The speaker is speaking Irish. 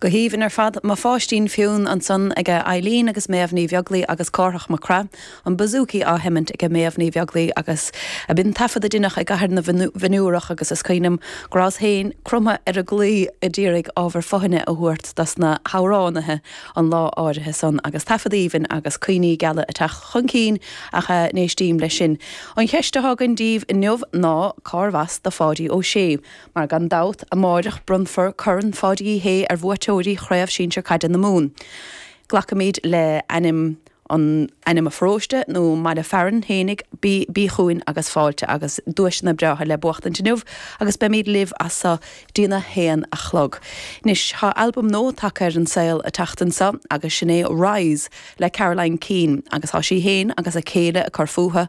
Go haoibhinn ar fad. Mo Pháistín Fionn ansan aige Eileen agus Méabh Ní Bheaglaoi agus Cárthach Mac Craith, an bouzouki á sheimint aige Méabh Ní Bheaglaoi agus b'in taifead a deineadh i gCathair na bhFionnúrach agus is cuimhin liom go rabhas féin cromtha ar an gclaí a d'iarraidh ábhar fothaine a thabhairt dos na hamhránaithe an lá áirithe san agus taifead aoibhinn agus cuimhní geala ag teacht chun cinn ach n-éistím leis sin. An cheist atá againn daoibh inniu ná cárbh as do Pháidí Ó Sé? Mar gan dabht, amáireach bronnfar Corn Pháidí Uí Shé ar bhuaiteoirí Chraobh Sinsir Caide na Mumhan. Glacaimid le ainm an ainm a pharóiste nó mbaile fearainn fhéinig, bí bí chugainn agus fáilte agus duaiseanna breátha le buachtaint inniu agus beimid libh as so dtína haon a chlog. Anois, tá albam nua tagtha ar an saol an tseachtain seo agus sin é Rise le Caroline Keane agus tá sí fhéin agus a céile ag cur fúthu.